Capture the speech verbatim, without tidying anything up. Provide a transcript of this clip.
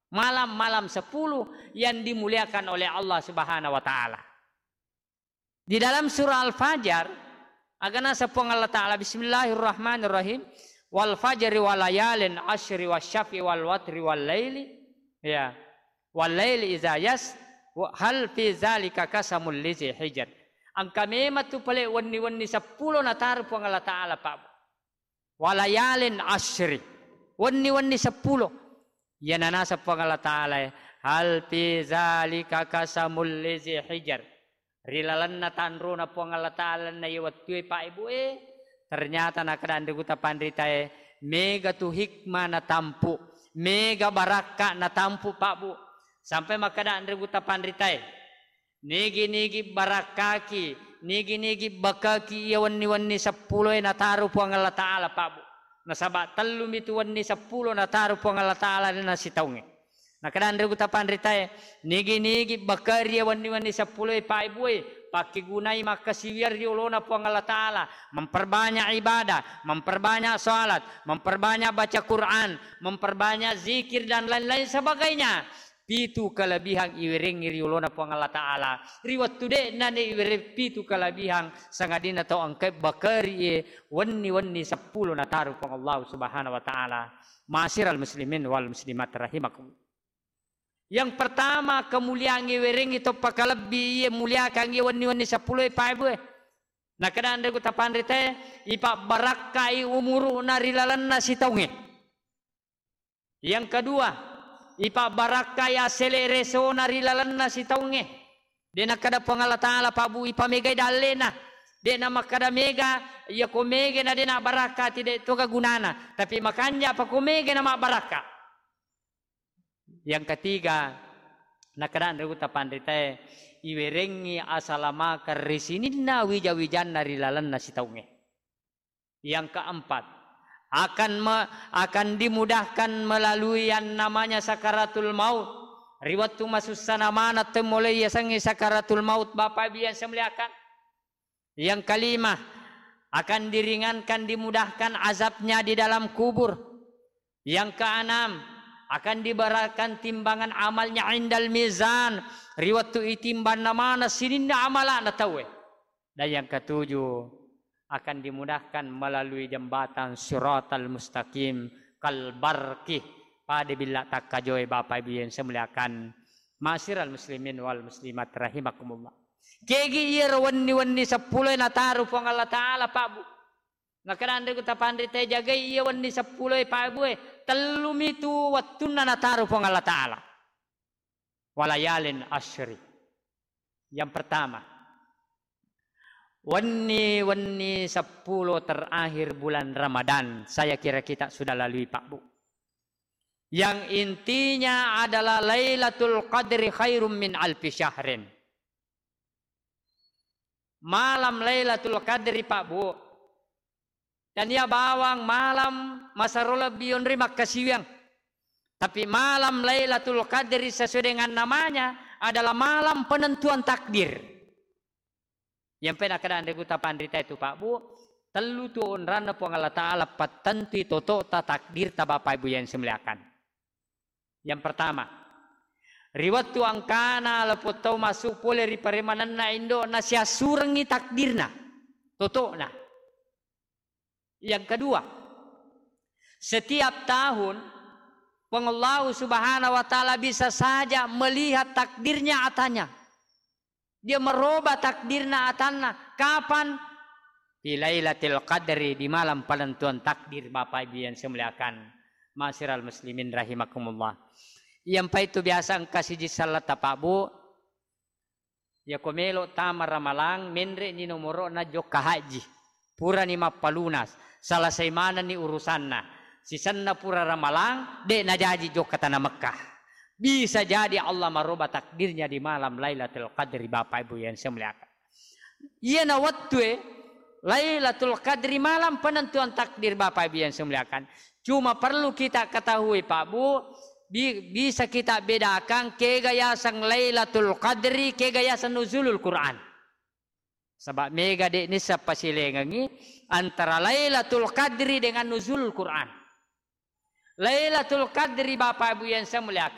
Malam-malam sepuluh yang dimuliakan oleh Allah Subhanahu wa Ta'ala. Di dalam surah Al-Fajr, aga naseng Puang Allah Ta'ala, "Bismillahirrahmanirrahim. Wal fajri wa layalin asyri wa syafi wal watri wal laili." Ya. "Wal laili iza yas, wa hal fi zalika qasamul lizi hijr." Engka memang tu pale wenni-wenni seppulo nataru Puang Allah Ta'ala, Pak. "Walayalin asyri." Wenni-wenni seppulo. Iyana naseng Puang Allah Ta'ala, "Hal fi zalika qasamul lizi hijr." Ri lalenna tanrona Puang Allah Ta'ala na iya wettue, Pak Ibu e, ternyata nakkeda anre gutta panritae, mega tu hikmah natampu, mega barakka natampu, Pak Bu. Sampai makkeda anre gutta panritae, nigi-nigi barakkaki, nigi-nigi bakaki iya wenni-wenni seppuloe nataru Puang Allah Ta'ala, Pak Bu. Nasaba tellumi tu wenni seppulo nataru Puang Allah Ta'ala na sitaungnge. Nakkeda anre gutta panritae, nigi-nigi bakari iya wenni-wenni seppuloe, Pak Ibu e, pakkegunai makkasiwiang ri olona Puang Allah Ta'ala, memperbanyak ibadah, memperbanyak salat, memperbanyak baca Quran, memperbanyak zikir dan lain-lain sebagainya. Pitu kelebihan iwerengngi ri olona Puang Allah Ta'ala. Ri wettu de'na ne iwereng pitu kelebihan, sangadinna tau engkae bakari e wenni-wenni seppulo nataru Puang Allah Subhanahu wa Ta'ala. Ma'asyiral muslimin wal muslimat rahimakumullah. Yang pertama, kemuliaan iwerengngi toppa kalebbi iye muliakangngi wenni-wenni seppulo e, Pak Ibu e. Nakkeda anre gutta panritae, ipabbarakkai umuru'na ri lalenna sitaungnge. Yang kedua, ipabbarakkai asseleresona ri lalenna sitaungnge. De nakkeda Puang Allah Ta'ala, Pak Bu, ipamegai dallena. De namakkeda mega, iya ko mega na de nabbarakka, ti de toga gunana. Tapi makanja pa ko mega na mabbarakka. Yang ketiga, nakkeda anre gutta panritae, iwerengngi asalamakeng ri sininna wija-wijanna ri lalenna sitaungnge. Yang keempat, akan me-, akan dimudahkan melalui yang namanya sakaratul maut. Ri wettu masussana maneng temmolei yasengnge sakaratul maut, Bapak Ibu yang saya muliakan. Yang kelima, akan diringankan, dimudahkan azabnya di dalam kubur. Yang keenam, akan diberatkan timbangan amalnya indal mizan. Ri wettu itimbanna maneng sininna amala'na tauwe. Dan yang ketujuh, akan dimudahkan melalui jembatan siratal mustaqim kal barqi. Pada billa takkajoe, Bapak Ibu yang saya muliakan. Ma'asyiral muslimin wal muslimat rahimakumullah. Kegi iyaro wenni-wenni seppulo e nataru Puang Allah Ta'ala, Pak Bu. Nakkeda anre gutta panritae, jagai iya wenni seppulo e, Pak Bu e, tellumi tu wettunna nataru Puang Allah Ta'ala. Walayalin asyri. Yang pertama, wenni-wenni seppulo terakhir bulan Ramadan, saya kira kita sudah lalui, Pak Bu. Yang intinya adalah Lailatul Qadri khairum min alfi syahrin. Malam Lailatul Qadri, Pak Bu, tania bawang malam masero lebbi yonri makkasiwiang. Tapi malam Lailatul Qadri sesuai dengan namanya adalah malam penentuan takdir. Yang pernah keadaan regu tapanrita itu, Pak Bu, tellu tu onranna Puang Allah Ta'ala pattentui totota takdirta, Bapak Ibu yang saya muliakan. Yang pertama, ri wettu engkana lepo tau massu pole ri paremanenna indo'na, siassurengngi takdirna, toto'na. Yang kedua, setiap tahun Puang Allahu Subhanahu wa Ta'ala bisa saja melihat takdirnya atanya. Dia merubah takdirna atanna. Kapan? Fi Lailatul Qadri, di malam penentuan takdir, Bapak Ibu yang saya muliakan. Ma'asyiral muslimin rahimakumullah. Yang pa itu biasa engka siji selletta, Pak Bu. Yako melo tama Ramalang, menre ni nomoro'na jokka haji. Purani mappalunas, selesai manenni urusanna. Sisenna pura Ramalang, de najaji jokka tana Mekkah. Bisa jadi Allah merubah takdirnya di malam Lailatul Qadri, Bapak Ibu yang saya muliakan. Iyana wettue Lailatul Qadri, malam penentuan takdir, Bapak Ibu yang saya muliakan. Cuma perlu kita ketahui, Pak Bu, bi-, bisa kita bedakan kega yaseng Lailatul Qadri, kega yaseng Nuzulul Quran. Sebab mega de nissa pasilengengi antara Lailatul Qadri dengan Nuzulul Quran. Lailatul Qadri, Bapak Ibu yang saya muliakan,